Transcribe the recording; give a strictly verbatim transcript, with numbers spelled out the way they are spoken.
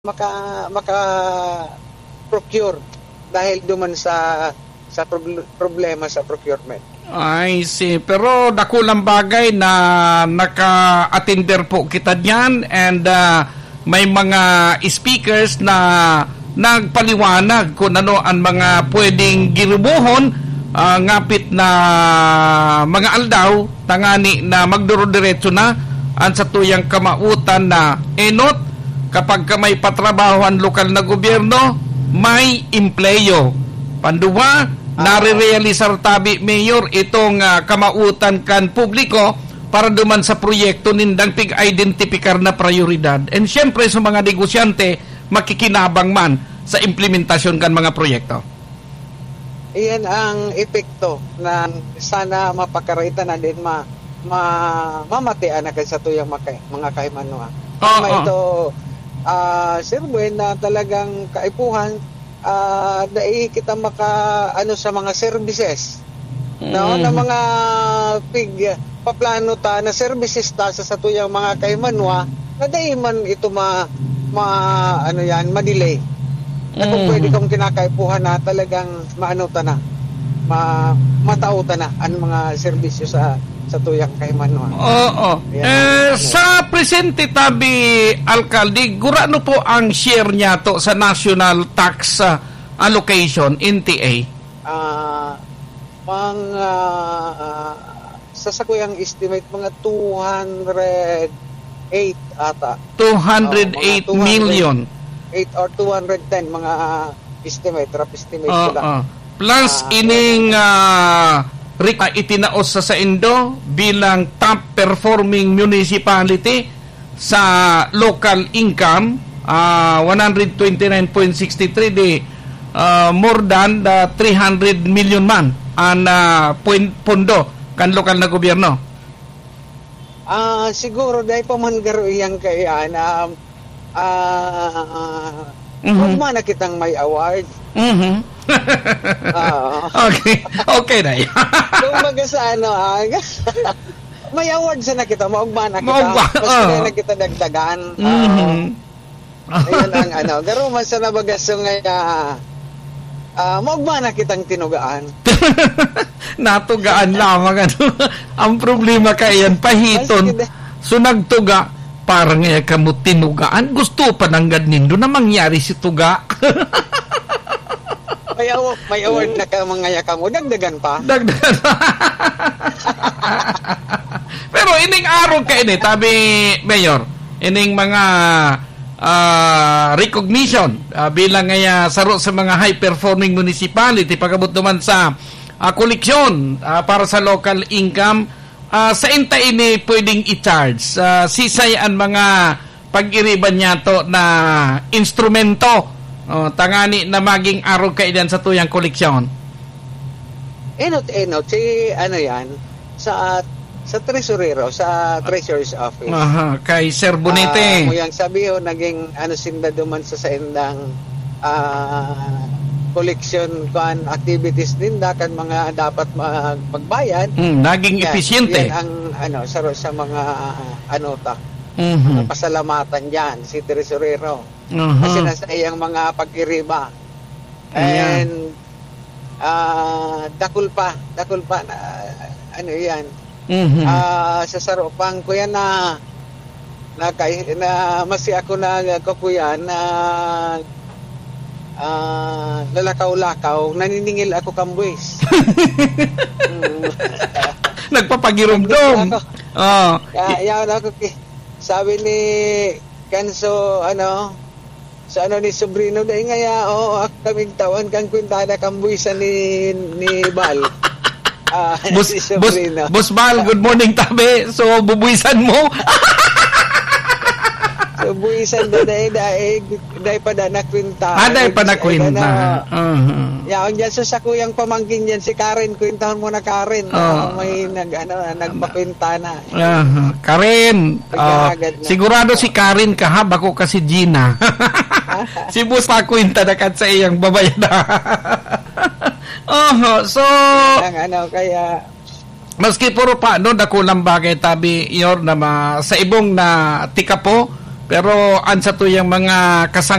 maka-, maka-procure dahil duman sa, sa prob-, problema sa procurement. I see. Pero dakulang bagay na naka-attender po kita diyan and, ah, may mga speakers na nagpaliwanag kung ano ang mga pwedeng girubohon, ah, ngapit na mga aldaw, tangani na magduro-diretso na ang satuyang kamawotan na enot, kapag ka may patrabaho ang lokal na gobyerno, may empleyo. Panduwa, Ah. nare-realisar tabi, Mayor, itong, ah, kamawotan kan publiko para duman sa proyekto nindang pig-identipikar na prayoridad. And siyempre, sa mga negosyante, makikinabang man sa implementasyon kan mga proyekto. Iyan ang epekto na sana mapakaraita na din ma-, ma-, mamatian na kan satuyang maka-, mga kahimanwa. Oo. Tama ito, ah, Sir Buen, na talagang kaipuhan, ah, dai kita maka-, ano, sa mga services. No? Mm. Na mga pig-, paplano ta na services ta sa satuyang mga kahimanwa na dai man ito ma-, ma-, ano yan, ma-delay. Na kung Mm. pwede kang kinakaipuhan na talagang maano ta na, ma-, matao ta na ang mga serbisyo sa, satuyang kahimanwa. Oo. Ayan. Eh, Ano? sa presente tabi, Alkalde, gurano po ang share niya to sa national tax, ah, allocation, N T A? Ah, mga, ah, sa sakuyang estimate, mga two hundred eight ata. Two hundred eight Oo, mga two hundred million. eight or two hundred ten, mga estimate, rough estimate ko Oo. lang. Plus Ah, ining, ah, rik-, ah, itinaos sa saindo bilang top performing municipality sa local income, ah, one hundred twenty-nine point six three di, ah, more than the three hundred million man an, ah, pwen-, pondo kan lokal na gobyerno. Ah, siguro dahil pa man garo iyang kaiyan, um, ah, Mhm. huwag man na kitang may award. Mhm. Oo. Okay. Okay na yan. Kumbaga sa ano, ah, may award sana kita, maugma na kita. Maugma, Mas oo. Kaya na kita dagdagan. Mhm. Oo. Ayan ang ano. Garo man sana baga so nga, ah, ah, maugma na kitang tinugaan. Natugaan lamang, ano. Ang problema kaiyan, pahiton. Mas kida- So, nagtuga, parang nga kamo tinugaan. Gusto pa nanggad nindo na mangyari si tuga. May awa-, may award na ka, mga yakang, o dagdagan pa? Dagdagan pa. Pero ining arog ka ini, tabi, Mayor, ining mga, ah, recognition, ah, bilang nga, ah, saro sa mga high-performing municipality, pag-abot naman sa, ah, koleksyon, ah, para sa local income, ah, sa inta ini pwedeng i-charge? Ah, sisay an mga pag-iriban niyato na instrumento, oh, tangani na maging arog kaiyan sa tuyang koleksyon? Enot-enot, si ano yan, sa, sa tresurero, sa treasurer's office. Aha, kay Sir Bonete. Ah, mo yang sabi, oh, naging ano sinda duman sa saindang, ah, collection kuan activities ninda kan mga dapat mag-, magbayad. Hmm, naging Yan, episyente. Yan ang ano, sa, sa mga ano ta. Mhm. Mga pasalamatan diyan, si Tresurero. Aha. Kasi nasa iyang mga pag-iriba. Ayan. And, ah, dakul pa, dakul pa na, ano yan. Mhm. Ah, sa saro pang kuya na, na, kay, na, masi ako na, kuya na, ah, lalakaw-lakaw, naniningil ako kambuis. Mm. Nagpapagirumdom. Nagdudum ako. Oh. Kaya, yaon ako ki-, sabi ni Kanso, ano, sa ano ni Sobrino, dahil nga, ya, oo, ako kaming tawan kang kwintada kang buwisan ni, ni Bal. Ah, Boss, si Boss, Sobrino. Boss Bal, good morning, tabi. So, bubuwisan mo? So, buwisan na, dahil, dahil, dahil pa na nakwinta. Ah, dahil pa Ay, nakwinta. Ano, Uh-huh. Yaon dyan, so, sa kuyang pamangkin dyan, si Karen, kwintahon mo na, Karen. Oo. Ah, may nag, ano, nagpakwinta na. Aha. Karen, ah, Nagkahagad na. Sigurado si Karen ka, ha? Bako ka si Gina. Si Boss Paco yung tadakat sa iyang babayad. Oho, so, Ang ano, kaya maski puro pa, no, dakulang bagay, tabi, Yor, na ma-, sa ibong na tika po, Pero an satuyang mga kasang